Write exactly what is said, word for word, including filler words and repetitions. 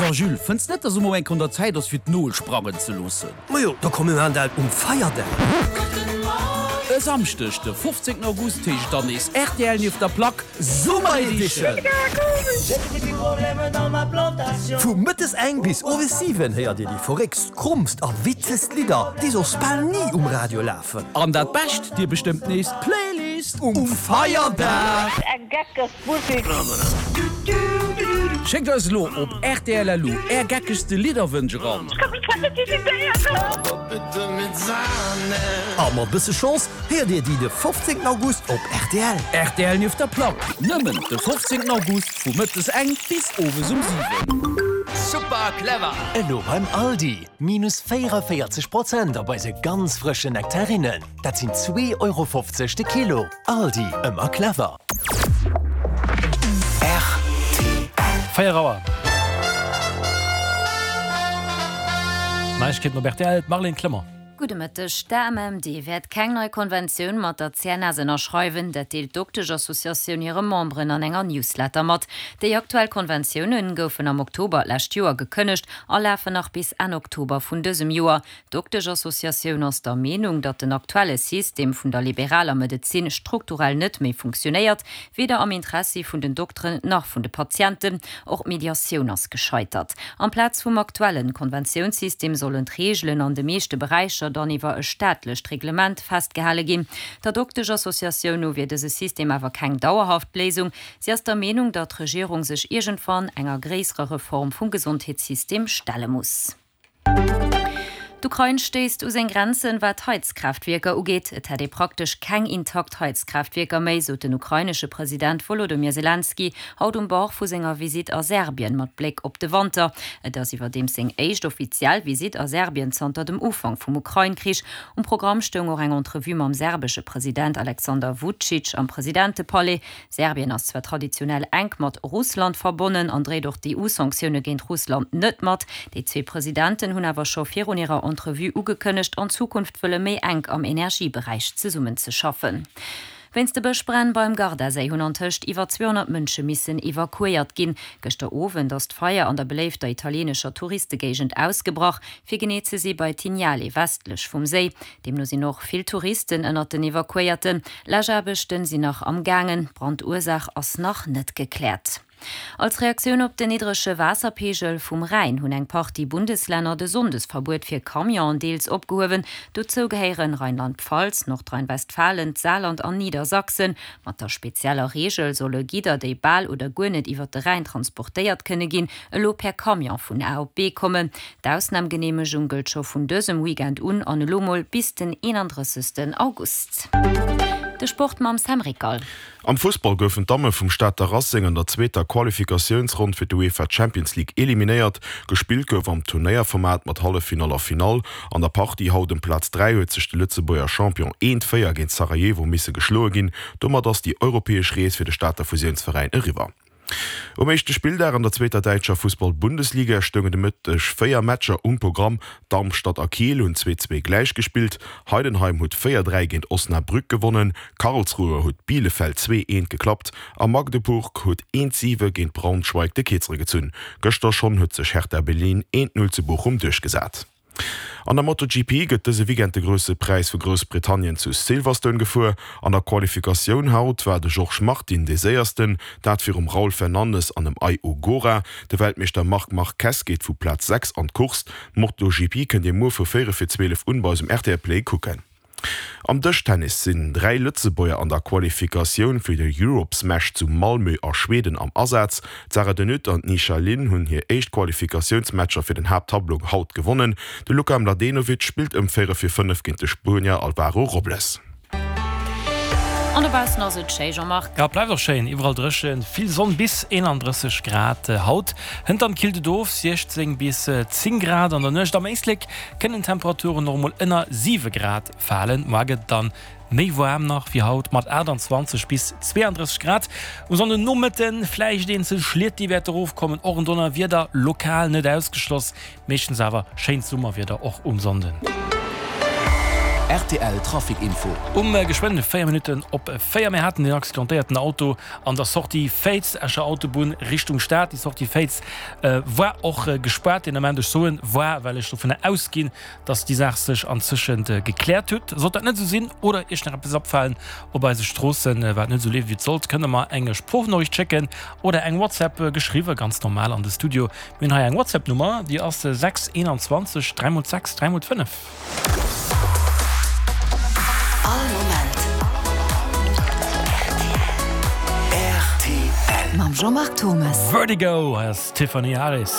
So Jules, fënns net, dass elo mol eng Kéier un der Zäit ass fir d'Nol sprangen ze loossen? Majo, da komm mir maachen dat um Feierdag. E Samschdeg de fofzéngten August heescht et dann nees rtl nieft der Plack Summer Edition! Vu mëttes eng bis owes siwen héiert dir déi verréckst, krommst a witzegst Lidder, déi soss bal ni um Radio lafen. An dat Bescht, dir bestëmmt nees d'Playlist um Feierdag! Eng geckeg Musik. Schéckt eis elo op rtl.lu är geckegste Lidderwënsch eran. A mat bësse Chance héiert dir déi de fofzéngten August op rtl. Rtl nieft der Plack, nëmmen de fofzéngten August vu mëttes eng bis owes um siwen. Super clever! Elo beim Aldi, minus véierundavéierzeg Prozent op eise ganz frëschen Nektarinnen. Dat sinn zwee Euro fofzeg de Kilo. Aldi, ëmmer clever! Véier Auer. Neiegkeeten op rtl, d'Marlène Clement. Gudde Mëtteg. D'AMMD wäert keng nei Konventioun mat der C N S ënnerschreiwen. Dat deelt d'Doktesch-Associatioun hire Memberen an enger Newsletter mat. Déi aktuell Konventioune goufen am Oktober d'lescht Joer gekënnegt a lafen nach bis Enn Oktober vun dësem Joer. D'Doktesch-Associatioun ass der Meenung, datt den aktuelle System vun der liberaler Medezin strukturell net méi funktionéiert, weder am Interessi vun den Dokteren nach vun de Patienten. Och d'Mediatioun ass gescheitert. Amplaz vum aktuelle Konventiounssystem sollen d'Reegelen an de meeschte Beräicher dann iwwer e staatlecht Reglement festgehale ginn. Der Dokteschassociatioun no wier dëse System awer keng dauerhaft Léisung. Si ass der Meenung, datt d'Regierung sech iergendwann enger gréisserer Reform vum Gesondheetssystem stelle muss. D'Ukrain stéisst u seng Grenzen, wat d'Heizkraaftwierker ugeet. Et hätt ee praktesch keng intakt Heizkraaftwierker méi, sot den ukrainesche President Wolodymyr Selenskyj haut um Bord vu senger Visitt a Serbien mat Bléck op de Wanter. Et ass iwwerdeems seng éischt offiziell Visitt a Serbien zanter dem Ufank vum Ukrain-Krich. Um Programm stoung och eng Entrevue mam serbesche President Alexander Vucic am Presidentepalais. Serbien ass zwar traditionell enk mat Russland verbonnen an dréit och d'E U-Sanktioune géint Russland net mat. Déi zwee Presidenten hunn awer scho virun hirer Entrevue ugekënnegt, an Zukunft wëlle méi enk am Energieberäich zesummenzeschaffen. Wéinst de Bëschbränn beim Gardaséi hunn antëscht iwwer zweehonnert Mënsche missen evakuéiert ginn. Gëschter Owend ass d'Feier an der beléifter italieenescher Touristegéigend ausgebrach, fir genee ze si bei Tignale westlech vum Séi. Deemno sinn och vill Touristen ënnert den Evakuéierten. Läschaarbechten sinn nach am gaangen, d'Brandursaach ass nach net gekläert. Als Reaktioun op den niddrege Waasserpeegel vum Rhäin hunn eng Partie Bundeslänner de Sonndesverbuet fir Camionen deels opgehuewen. Dozou gehéieren Rheinland-Pfalz, Nordrhein-Westfalen, d'Saarland an Niedersachsen. Mat der spezieller Reegel solle Gidder, déi bal oder guer net iwwer de Rhäin transportéiert kënne ginn, elo per Camion vun A op B kommen. D'Ausnamgeneemegung gëllt scho vun dësem Weekend un an elo mol bis den eenandrëssegsten August. De Sport mam Sam Rickal. Am Fussball goufen d'Damme vum Stater Racing an der zweeter Qualifikatiounsronn fir d'UEFA Champions League eliminéiert. Gespillt gouf am Turnéierformat mat Halleffinall a Finall. An der Partie haut ëm Plaz dräi huet sech de Lëtzebuerger Champion eent, véier géint Sarajevo misse geschloe ginn. Domat ass déi europäesch Rees fir de Stater Fusiounsveräin eriwwer. Um éischte Spilldag an der zweeter däitscher Fussball-Bundesliga stoungen de Mëtteg véier Matcher um Programm. Darmstadt a Kiel hunn zwee zwee gläich gespillt, Heidenheim huet véier dräi géint Osnabrück gewonnen, Karlsruhe huet Bielefeld zwee eent geklappt a Magdeburg huet eent siwe géint Braunschweig de Kierzere gezunn. Gëschter schonn huet sech Hertha Berlin eent null zu Bochum duerchgesat. An der MotoGP gëtt dëse Weekend de Grousse Präis vu Groussbritannien zu Silverstone gefuer. An der Qualifikatioun haut war de Jorge Martin dee Séiersten, dat virum Raul Fernandez an dem Ai Ogura. De Weltmeeschter Marc Marquez geet vu Plaz sechs an d'Course. D'MotoGP kënnt Dir muer vu véierel fir zwielef un bei eis um R T L Play kucken. Am Dëschtennis sinn dräi Lëtzebuerger an der Qualifikatioun fir de Europe Smash zu Malmö a Schweden am Asaz. D'Sarah de Nutte an d'Ni Xia Lin hunn hir éischt Qualifikatiounsmatcher fir den Haapttableau haut gewonnen. De Luka Mladenovic spillt ëm véierel fir fënnef géint de Spuenier Alvaro Robles. An dobaussen ass et schéi, Jean-Marc. Jo, et bleift och schéin, iwwerall dréchen, vill Sonn, bis eenandrësseg Grad haut. Hënt dann killt et of, siechzéng bis zéng Grad an der Nuecht. Am Éislek kënnen d'Temperaturen och emol ënner siwe Grad falen. Moar gëtt et dann méi waarm nach wéi haut, mat aachtanzwanzeg bis zweeandrësseg Grad. Um Sonnden Nomëtte vläicht eenzel Schliet, déi wäerte erofkommen, och en Donnerwieder lokal net ausgeschloss. Meeschtens awer schéint Summerwieder och um Sonnden. Rtl Trafic Info. Um geschwënn véier Minutten op véier. Mir haten den accidentéierten Auto an der Sortie Féiz, Escher Autobunn Richtung Stad. Déi Sortie Féiz war och gespaart deen Ament. Ech soen war, well ech dovunner ausginn, dass déi Saach sech anzëschent gekläert huet. Sollt dat net esou sinn oder Iech nach eppes opfalen op eise Stroossen, wat net esou leeft wéi et sollt, kënnt Der mer eng Sproochnoriicht schécken oder eng WhatsApp, geschriwwe ganz normal an de Studio. Mir hunn hei eng WhatsApp-Nummer, déi ass sechs eenanzwanzeg dräi mol sechs dräi mol fënnef. All Moment rtl. Mam Jean-Marc Thomes. Vertigo, hei ass d'Tiffany Harris.